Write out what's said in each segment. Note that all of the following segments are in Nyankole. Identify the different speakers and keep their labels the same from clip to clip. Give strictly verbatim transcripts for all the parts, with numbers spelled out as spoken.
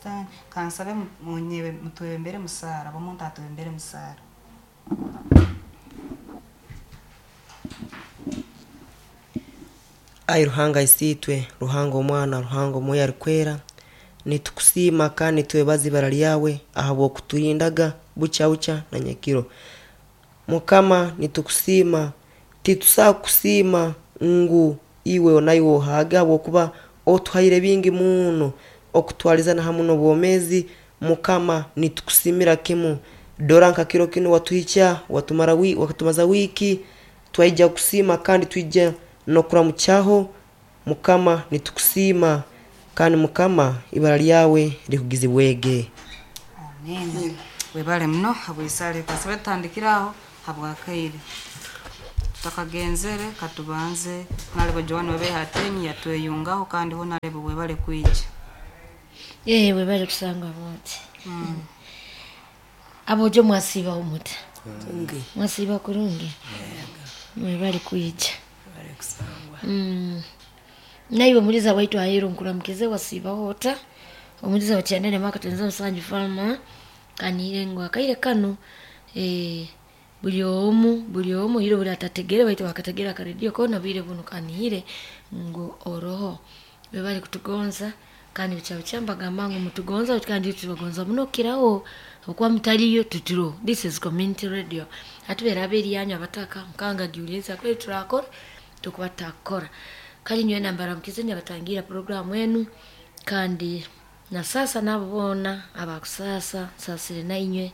Speaker 1: Sitaani. Kansabe munyebe mutwebembere musaara, omuntu atwebembere musaara.
Speaker 2: Ai Ruhanga isiitwe, Ruhanga Omwana, Ruhanga Omwoyo Arikwera, nitukusiima kandi nitwebaza ibara ryawe ahabw'okuturindaga bukya bukya na nyekiro. Mukama nitukusiima, titusobola kukusiima ngu iwe naiwe ohaage ahabw'okuba otuhaire bingi muno okutwalizana hamu n'obwomeezi. Mukama nitukusiimira kimu. Dora nka kiro kinu watuhikya, watumara wi, watumaza wiiki, twaija kusiima kandi twija n'okuramukyaho. Mukama nitukusiima kandi Mukama ibara ryawe likugizibwege.
Speaker 1: Amen. Webale muno habw'esaara kansabe tutandikire aho habwakaire. Tutakagenzere katubanze Honorable Joan Wabehatenyi yatweyungaho kandi Honorable webale kwija.
Speaker 3: Eh, webale kusangwa bote. Abojo mwasiibaho muta? Mwasiiba kurungi? Mwebale kwija. Mm. Naiwe muliza waitu ahero nkuramukize wasiibaho ota? Omuliza wakyandene maka tenza musanju fama kanire ngu akaire kano eh buli omu buli omu hiro buli atategere baitu bakategera akaredio kona bwire buno kanihire ngu oroho bebali kutugonza kandi bucha bucha mbagamba ngu mutugonza kandi tubagonza muno kiraho okuba mutaliyo tuturo. This is community radio atubera aberi yanyu abataka mukanga giuliza kweli turakora tukuba takora kali nywe nambara mukizenya batangira programu enu kandi na sasa nabo bona abakusasa sasire nainywe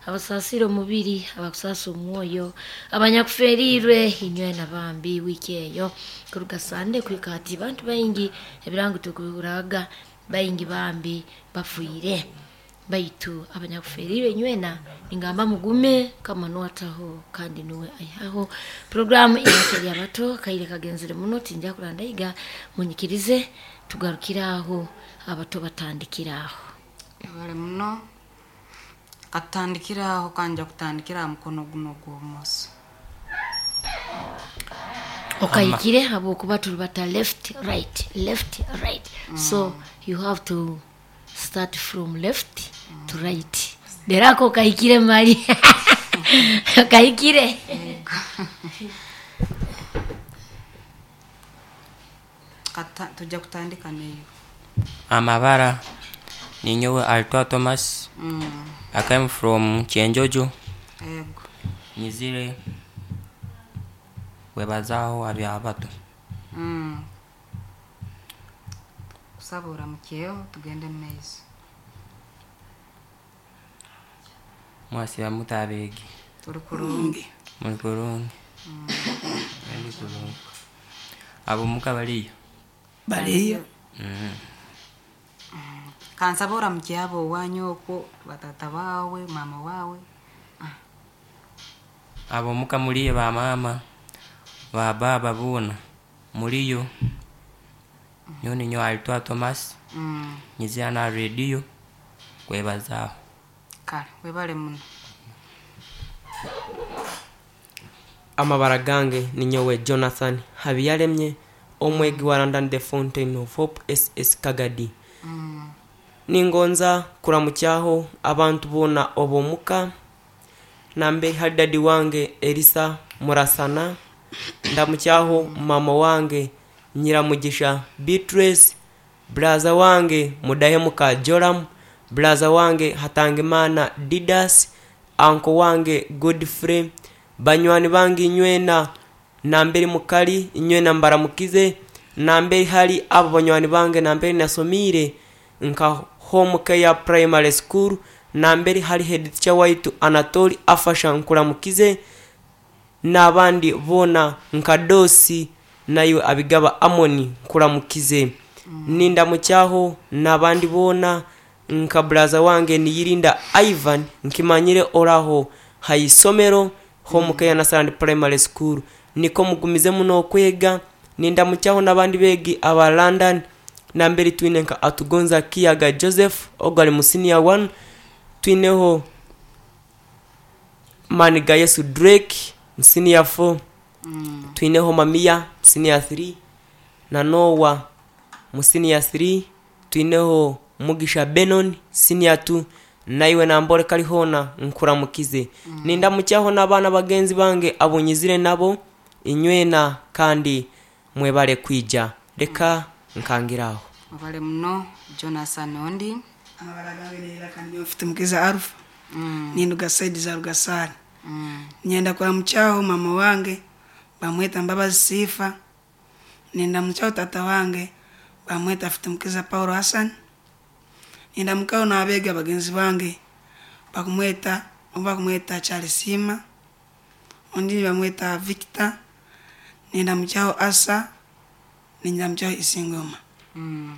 Speaker 3: abasasire omubiri abakusasa omwoyo abanyakuferirwe inywe nabambi wiki eyo kuruga Sande kuhika hati bantu baingi ebirango tukuraga baingi bambi bafuire baitu abanyakuferirwe inywena ningamba mugume kama nuwataho kandi nuwe aihaho programu iyakeri abato kaire kagenzere muno tinja kurandaiga munyikirize tugarukiraho abato batandikiraho.
Speaker 1: Webale muno. Katutandikiraho kanja kutandikira aha mukono guno gw'obumoso.
Speaker 3: Okayikire habwokuba turubata left right left right. Mm. So you have to start from left mm. to right. Derako okayikire mali. Okayikire.
Speaker 1: Kata tujja kutandika neyo.
Speaker 4: Amabara ninyowe Altwa Thomas.
Speaker 1: Mm.
Speaker 4: I came from Chenjojo.
Speaker 1: Ego.
Speaker 4: Nyizire webazaho abyabato.
Speaker 1: Mm. Kusaba oramukyeho tugende mu maiso.
Speaker 4: Mwasiba mutabegi.
Speaker 1: Turi kurungi.
Speaker 4: Muri kurungi. Mm. Ndi kurungi. Abo muka baliyo.
Speaker 5: Baliyo.
Speaker 4: Mm.
Speaker 1: Kansaba oramukye abo owanyu okwo batata bawe mama wawe.
Speaker 4: Abo muka muliyo ba mama ba baba bona muliyo. Nyoni nyo Altwa Thomas.
Speaker 1: Mm.
Speaker 4: Nyizira na radio kwebazaho.
Speaker 1: Kale webale muno.
Speaker 2: Amabara gange ninyowe Jonathan Habiyaremye omwegi wa London the Fountain of Hope S S Kagadi.
Speaker 1: Mm.
Speaker 2: Ningonza kuramukyaho abantu bona obomuka nambe hari dadi wange Elisa Murasana, ndamukyaho mama wange Nyiramugisha Beatrice, braza wange Mudahemuka Joram, braza wange Hatangimana Didas, anko wange Godfrey, banywani bange inywena namberi mukali inywena mbaramukize, namberi hari abo banywani bange namberi nasomire nka Home Care Primary School, namberi hari head teacher waitu Anatoli afasha nkuramukize, n'abandi bona nka Dosi nayo abigaba Amoni nkuramukize. Mm. Nindamukyaho n'abandi bona nka braza wange niyirinda Ivan nkimanyire oraho hayisomero Home Care Nasarand Primary School, niko mugumize muno okwega. Nindamukyaho n'abandi begi aba London namberi twine nka Atugonza Kiyaga Joseph ogwali mu senior one, twineho Maniga Yesu Drake mu senior four,
Speaker 1: Mm.
Speaker 2: twineho Mamiya mu senior three na Noah mu senior three, twineho Mugisha Benon senior two naiwe nambore kalihona nkuramukize. Mm. Nindamukyaho n'abaana bagenzi bange abonyizire nabo inywena kandi mwebale kwija. Reka nkangiraho.
Speaker 1: Mwebale muno Jonathan Ondi.
Speaker 5: Amabara gange neera kandi mfite mukiza Alpha. Mm. Ninduga saidi za Rugasari. Mm. Nyenda kuramukyaho mama wange bamweta Mbabazi Sifa. Nenda mukyaho tata wange bamweta afite mukiza Paulo Hassan. Nenda mukao n'abega bagenzi bange bakumweta bakumweta Charles Sima, undi bamweta Victor. Nenda mukyaho Asa, nenda mukyaho Isingoma.
Speaker 1: Mm.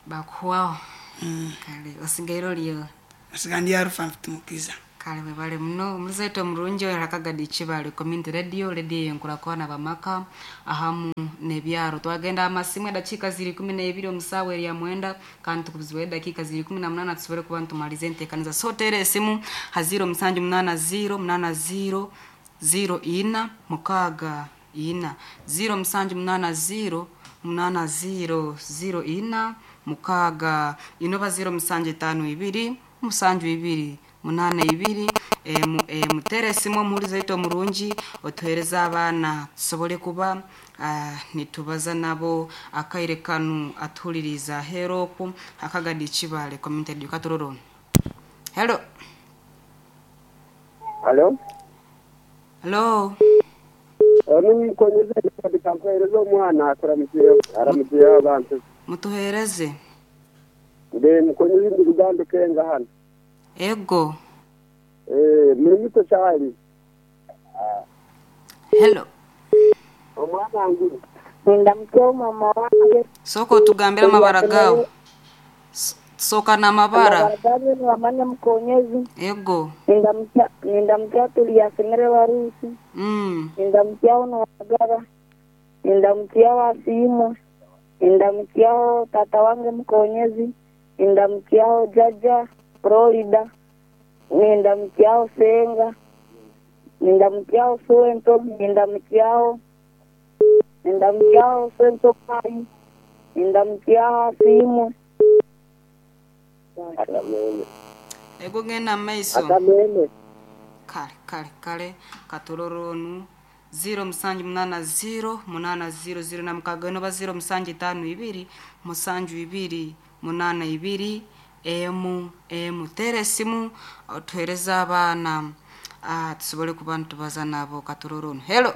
Speaker 1: Bakuwao. Mm. Kale osigairo lyo.
Speaker 5: Asigandi Alpha mfite mukiza.
Speaker 1: Kale webale muno muzeto murungi rakagadi Kibale Community Radio, radio yenkurakwana bamaka ahamu nebyaro. Twagenda amasimu edakika ziri kumi na ibiri omusawa ya mwenda kandi tukubizwe dakika ziri kumi na munana tusobole kuba ntumalize enteekaniza. So tere esimu ha zero musanju munana zero munana zero zero ina mukaga ina zero musanju munana zero munana zero zero ina mukaga inoba zero musanju itanu ibiri musanju ibiri munana ibiri. E, mu, e, mutere esimu omuhuriza ito murungi otuhereza abaana tusobole kuba uh, nitubaza nabo akaire kanu atuhuririza heroku akagadi Kibale Community Radio. Katororo. Hello.
Speaker 6: Hello.
Speaker 1: Hello.
Speaker 6: Onu mukonyeze kampwereza omwana akuramukiye aramukiye abantu.
Speaker 1: Mutuhereze.
Speaker 6: Mbe mukonyeze ndugando kenga hano.
Speaker 1: Ego.
Speaker 6: Eh, muri muto cyari.
Speaker 1: Hello.
Speaker 6: Omwana ngu.
Speaker 7: Ndamukyo mama wange.
Speaker 1: Soko tugambira amabara gawe. Soka na mabara.
Speaker 7: Amabara wamanya mukonyezi.
Speaker 1: Ego.
Speaker 7: Ndamukya ndamukya tuliyasemere warusi.
Speaker 1: Mm.
Speaker 7: Ndamukya ono wagara. Ndamukya wasimu. Ndamukya tata wange mukonyezi. Ndamukya jaja Florida. Ndamukyaho Senga. Ndamukyaho Suento. Ndamukyaho Ndamukyaho Suento Kai. Ndamukyaho Simu.
Speaker 1: Ego ngena maiso.
Speaker 6: Akamene.
Speaker 1: Kale kale kale katororonu zero musanju munana zero munana zero zero na mukaga inoba zero musanju itanu ibiri musanju ibiri munana ibiri emu emu. Tere esimu otuhereza abaana ah, tusobole kuba nitubaza nabo katororonu. Hello.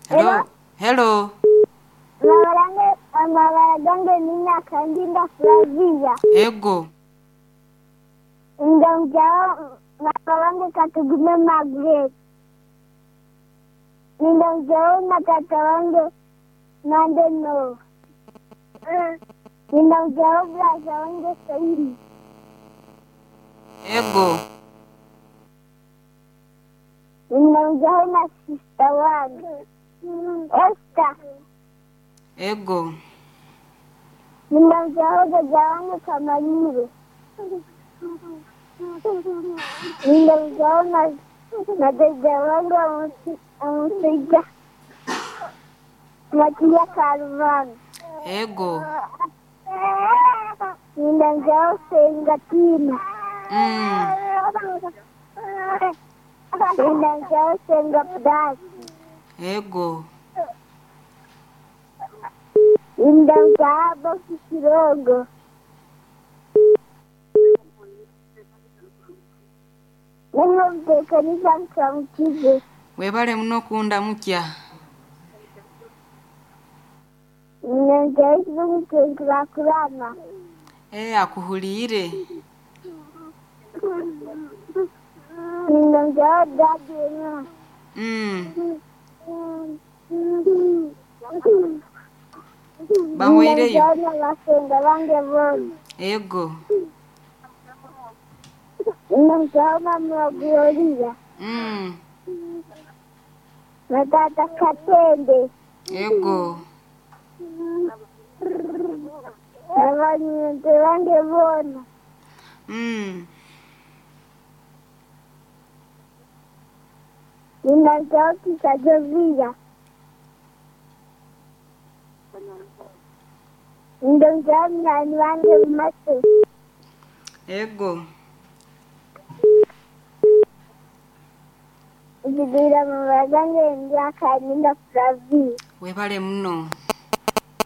Speaker 1: Hello. Hello.
Speaker 8: Amabara gange nina kandinda Flavia.
Speaker 1: Ego.
Speaker 8: Ndamjao mama wange Katugume Margaret. Ndamjao na tata wange Mande no. Ndamjao brother wange Saidi.
Speaker 1: Ego.
Speaker 8: Ndamjao na sister wange Esther.
Speaker 1: Ego.
Speaker 8: Ndamjao dada wange Kamaliro. Ndamjao na na dada wange Amusija Matia Karvan.
Speaker 1: Ego.
Speaker 8: Ndamjao Sengatina.
Speaker 1: Mm.
Speaker 8: Ndamjao Senga Pdas.
Speaker 1: Ego.
Speaker 8: Ndamjao Bosi Kirogo. Nengomtekanisa nkamukize.
Speaker 1: Webale muno kunda mukya.
Speaker 8: Ndamjao Kurakurana.
Speaker 1: Eh, akuhulire.
Speaker 8: Ndamjao Daddy.
Speaker 1: Mm. Bahweireyo.
Speaker 8: Ndamjao bange bose.
Speaker 1: Ego.
Speaker 8: Ndamjao mama Gloria.
Speaker 1: Mm.
Speaker 8: Na tata Katende.
Speaker 1: Ego.
Speaker 8: Abanyente bange bona.
Speaker 1: Mm.
Speaker 8: Ndamjao Kisa Jovia. Nindamukiaho munywani wange Mumase.
Speaker 1: Ego.
Speaker 8: Nzigwire amabara gange ndi akaninda Flavi.
Speaker 1: Webale muno.